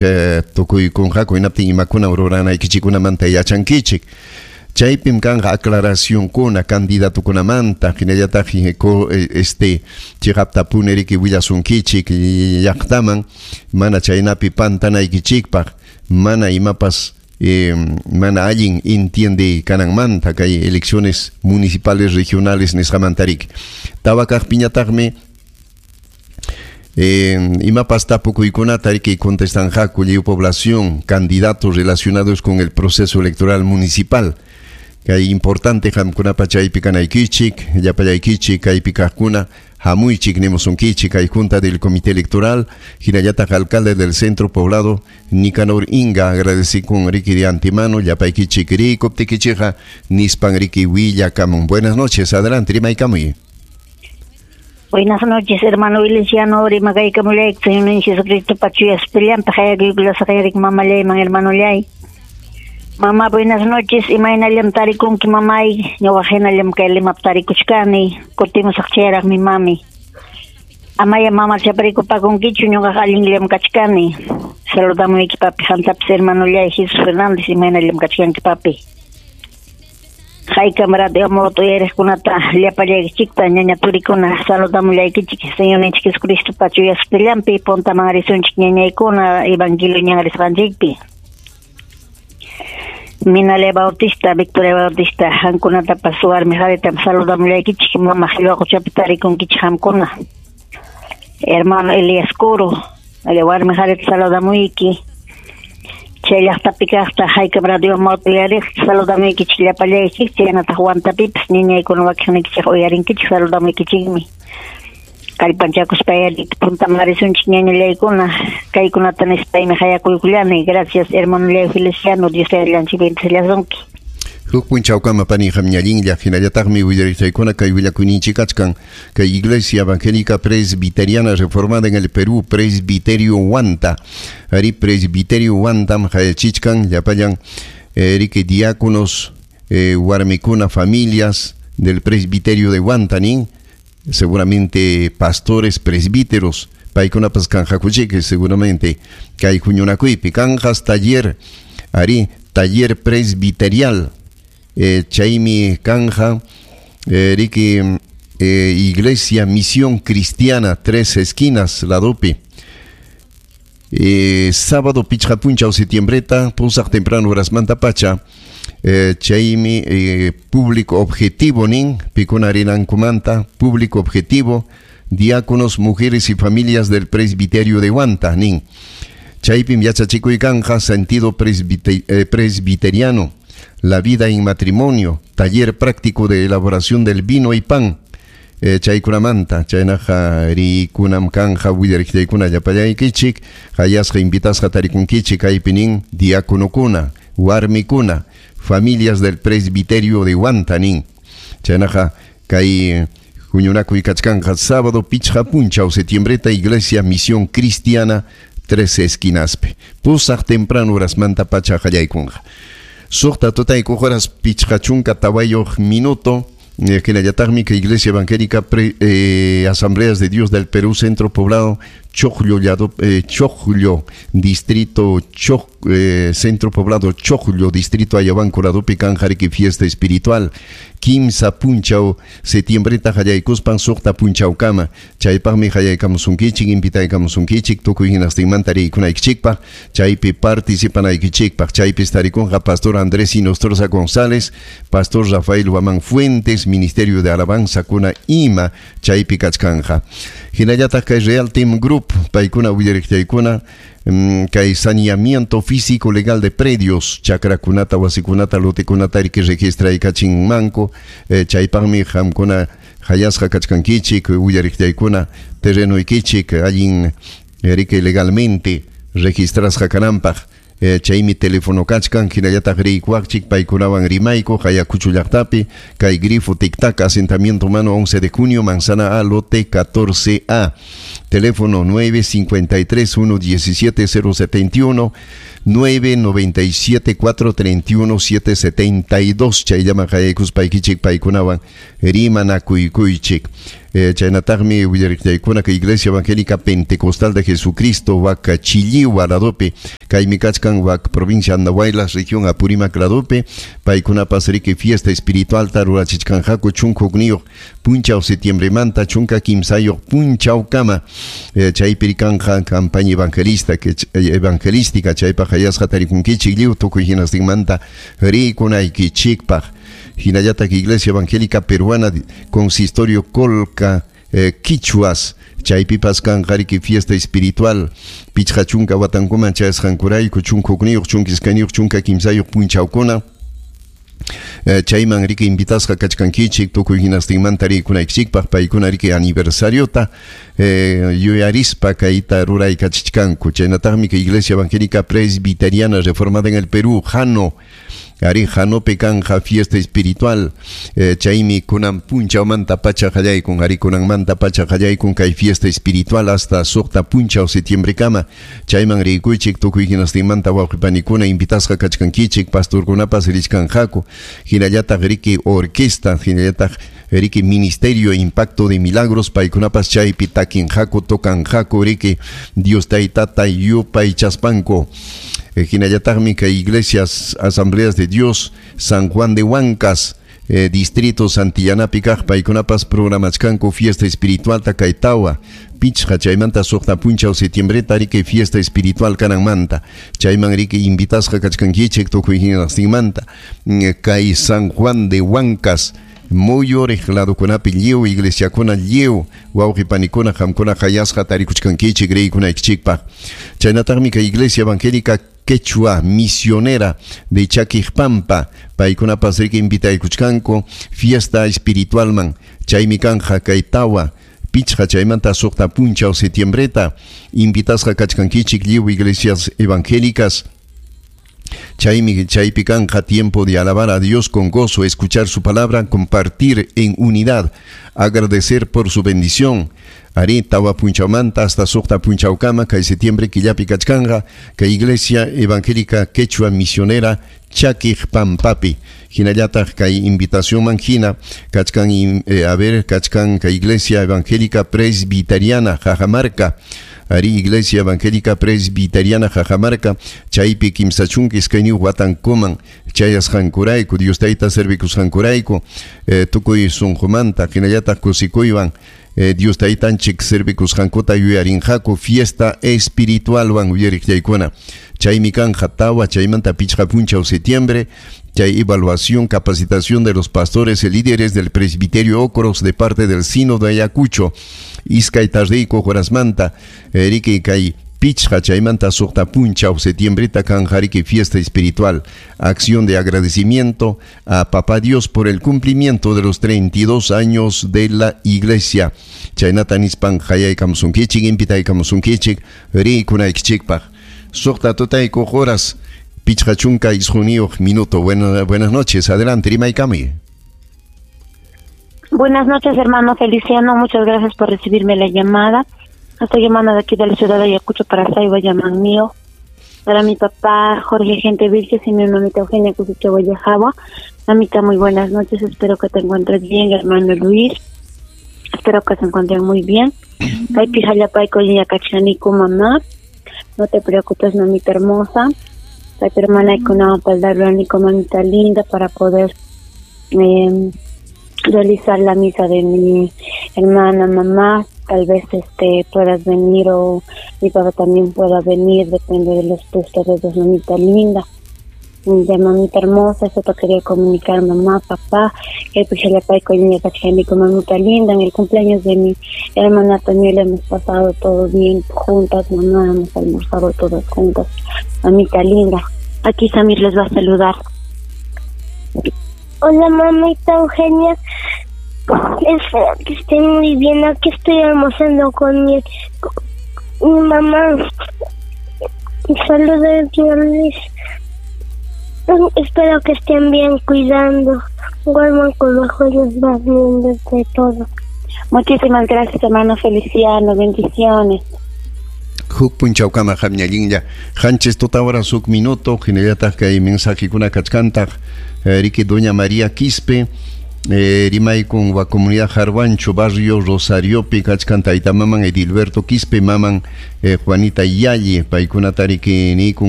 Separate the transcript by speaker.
Speaker 1: Tukuykunqaku hinaptin imakuna ruranaykichikkunamanta yachankichik. Chaypim kanqa aclaracionkuna candidatokunamanta, hinallataq chiqaptapuni riki willasunkichik llaqtaman mana chaynapi pantanaykichikpaq, mana imapas mana allin entiende kananmanta kay elecciones municipales regionales nisqamanta riki. Tawa kaqpiñataqmi imapas tapukuykunata riki contestanqaku lliw población, candidatos relacionados con el proceso electoral municipal. Kay importante qamkunapa chaypi kanaykichik, llapallaykichik kaypi kaqkuna hamuychik nimusunkichik kay junta del comité electoral, hinallataq alcalde del centro poblado Nicanor Inga agradecikun riki de antemano llapaykichik rikuptikichikqa nispan riki willakamun. Buenas noches, adelante, rimaykamuy.
Speaker 2: Buenas noches, hermano Feliciano, rimakaykamullayki Señor Jesucristo pachuyas pillampi hayakuykulasaqayrik mamallayman hermanollay. Mamá, buenas noches. Imaynallam tarikunki mamay. Ñuqa hinallam kay Limap tarikuchkani. Kutimusaq chayraqmi mami. Amaya mama chaparikupakunkichu ñuqaqa allinllam kachkani. Saludamuyki papi qamtapas hermanollay Jesús Fernández imaynallam kachkanki papi. Haykam radio moto uyariqkunata llapallaykichikta ñaña turikuna saludamullaykichik Señorninchik Jesucristo pachuyasqillampi puntaman risunchik ñañaykuna evangelio ñan risqanchikpi. Minale Bautista, Victoria Bautista, qamkunatapas warmi qharitam saludamullaykichik mama qillwaquchapi tarikunkichik qamkuna. Hermano Elias Curo, warmi qharita saludamuyki. Chay llaqtapi kaqta haykam radio moto uyariq saludamuykichik llapallaykichik chaynataq Huantapipas ñañaykuna wakiqnikichik uyarinkichik saludamuykichikmi. Kallpanchakuspa puntaman risunchik ñañallaykuna kaykunata nispaymi hayakuykullani. Gracias hermano Feliciano, Dios allanchik bendecillasunki.
Speaker 1: Huk punchawkama pani qamñallinlla hinallataqmi willariqtaykuna kay willakuyninchik kachkan kay Iglesia Evangélica Presbiteriana Reformada en el Perú, Presbiterio Huanta. Ari Presbiterio Huantam hayachichkan llapallan riki diáconos, warmikuna, familias del Presbiterio de Huanta nin, seguramente pastores, presbíteros, paykunapas kanqakuchik seguramente kay huñunakuypi kanqas taller, ari taller presbiterial. Chaymi kanja riki Iglesia Misión Cristiana Tres Esquinas ladopi. Sábado pichqa punchaw septiembreta pusaq temprano horasmanta pacha chaymi público objetivo nin pikuna rinankumanta público objetivo diáconos, mujeres y familias del presbiterio de Huanta nin. Chaypim yachachikuy kanja sentido presbiteriano, la vida en matrimonio, taller práctico de elaboración del vino y pan. Chaykunamanta, chaynaqa rikunam kanja willariqtaykuna llapallaykichik, hayasqa invitasqa tarikunkichik kaypi nin diáconokuna, warmikuna, familias del presbiterio de Huanta nin. Chaynaqa kay huñunakuy kachkanqa sábado pichqa punchaw septiembreta Iglesia Misión Cristiana Tres Esquinaspe. Pusaq temprano horasmanta pacha qallaykunqa. Suqta tutayku horas pichqa chunka tawayuq minuto. Hinallataqmi kay Iglesia Evangélica Asambleas de Dios del Perú, Centro Poblado, Chocllo, Chocllo, Distrito Centro Poblado Chocllo, Distrito Ayabanco, Ladopi, Kanjariki, Fiesta Espiritual, Kimsa punchaw, septiembreta qallaykuspan suqta punchawkama, chaypaqmi qallaykamusunkichik, invitaykamusunkichik, tukuy hinastinmanta riykunaykichikpaq, chaypi participanaykichikpaq, chaypi tarikunqa Pastor Andrés Inostroza González, Pastor Rafael Huamán Fuentes, Ministerio de Alabanza kuna ima, chaypi kachkanja. Hinallataq kay Real Team Group, paykuna willariqtaykuna, kay saneamiento físico legal de predios, chakrakunata, wasikunata, lotekunata riki registraykachinmanku, chaypaqmi qamkuna hayasqa kachkankichik, willariqtaykuna terrenoykichik allin riki legalmente registrasqa kananpaq. Chaymi teléfono kachkan, hinallataq riykuwaqchik, paykunawan rimayku, Ayacucho llaqtapi, kay grifo tic-tac, asentamiento humano 11 de junio, Manzana A, lote 14A. Teléfono 953 117 071, 997 431 772. Chayllaman hayaykuspaykichik paykunawan rimanakuykuychik. Chaynataqmi willariqllaykuna kay Iglesia Evangélica Pentecostal de Jesucristo wak Chilliwa ladopi, kaymi kachkan wak provincia Andahuaylas, región Apurímac ladopi, paykunapas riki fiesta espiritualta rurachichkanqaku 11 punchaw septiembremanta 13 punchawkama, chaypi kanja campaña evangelista que evangelística chaypaq hayasqa tarikunkichik lliw tukuy hinastinmanta rikunaykichikpaq. Hinallataq Iglesia Evangélica Peruana Consistorio Colca Quichuas chaypipas kanqa riki fiesta espiritual 50 watankuman chayasqankurayku 11 12 13 punchawkuna. Chayman riki invitasqa kachkankichik tukuy hinastinmanta rikunaykichikpaq paykuna riki aniversariota yuyarispa kayta ruraykachichkanku. Chaynataqmi kay Iglesia Evangélica Presbiteriana Reformada en el Perú Jano ari Janope kanja fiesta espiritual, chaymi kunan punchawmanta pacha qallaykun, ari kunanmanta pacha qallaykun kay fiesta espiritual hasta 6 punchaw septiembre kama. Chayman rikuychik tukuy hinastinmanta wawqipanikuna invitasqa kachkankichik, pastorkunapas richkanqaku, hinallataq riki orquesta, hinallataq riki ministerio impacto de milagros paykunapas chaypi takinqaku, tokanqaku riki Dios taytata yupaychaspanku. Hinallataqmi kay iglesias asambleas de Dios San Juan de Huancas, distrito Santillanapi kaq paykunapas programachkanku fiesta espiritual kay tawa 5 chaymanta 6 punchaw septiembreta riki fiesta espiritual kananmanta. Chayman riki invitasqa kachkankichik tukuy hinastinmanta kay San Juan de Huancas muyuriq ladokunapi lliw iglesiakuna lliw wawqipanikuna qamkuna hayasqa tarikuchkankichik riykunaykichikpaq. Chaynataqmi kay Iglesia Evangélica Quechua Misionera de Chaquiqpampa paykunapas riki invitaykuchkanku fiesta espiritualman. Chaymi kanja kay tawa 5 chaymanta 6 punchaw septiembreta invitasqa kachkankichik lliw iglesias evangélicas. Chaymi chaypi kanja tiempo de alabar a Dios con gozo, escuchar su palabra, compartir en unidad, agradecer por su bendición. Ari tawa punchawmanta hasta 6 punchawkama kay septiembre killapi kachkanja kay Iglesia Evangélica Quechua Misionera Chaquiqpampapi. Hinallataq kay invitación manjina kachkan a ver kachkan kay Iglesia Evangélica Presbiteriana Jajamarca. Ari Iglesia Evangélica Presbiteriana Jajamarca chaypi 32 watankuman chayasqankurayku Dios tayta servikusqankurayku tukuy sunqumanta hinallataq kusikuywan Dios taytanchik servikusqankuta yuyarinqaku fiesta espiritualwan uyariqllaykuna. Chaymi kanja tawa chaymanta 5 punchaw septiembre chay evaluación, capacitación de los pastores y líderes del presbiterio Ocros de parte del Sínodo de Ayacucho. Iskay tardiyku horasmanta riki kay 5 chaymanta 6 punchaw septiembreta kanja riki fiesta espiritual, acción de agradecimiento a Papá Dios por el cumplimiento de los 32 años de la iglesia. Chaynata nispan hayaykamusunkichik, invitaykamusunkichik rikunaykichikpaq. 6 tutayku horas 59 minuto. Buenas noches, adelante, rimaykami.
Speaker 3: Buenas noches, hermano Feliciano, muchas gracias por recibirme la llamada. Estoy llamando de aquí de la ciudad de Ayacucho para Saiba mío, para mi papá Jorge Gente Vilches y mi mamita Eugenia Cusicha Guayajaba. Mamita, muy buenas noches, espero que te encuentres bien, hermano Luis. Espero que se encuentren muy bien. Mamá. No te preocupes, mamita hermosa. La hermana y con mamita linda para poder realizar la misa de mi hermana, mamá. Tal vez puedas venir o mi papá también pueda venir, depende de los ustedes dos, mamita linda. Ya, mamita hermosa, eso te quería comunicar, mamá, papá, que mamita linda, en el cumpleaños de mi hermana también le hemos pasado todo bien juntas, mamá, hemos almorzado todas juntas, mamita linda. Aquí Samir les va a saludar.
Speaker 4: Hola, mamita Eugenia. Espero que estén muy bien. Aquí estoy almorzando con mi mamá. Saludos al señor Luis. Espero que estén bien cuidando. Duerman con los ojos más lindos de todo.
Speaker 3: Muchísimas gracias, hermano Feliciano. Bendiciones.
Speaker 1: Huk punchawkama hamñallinlla hanchis tutawara suk minuto hinallataq kay mensajekuna kachkantaq riki doña María Quispe Rimaykun wa comunidad Jarwancho, barrio Rosariopi kachkan tayta maman Edilberto Quispe, maman Juanita Yalli, paykunatariki nikun.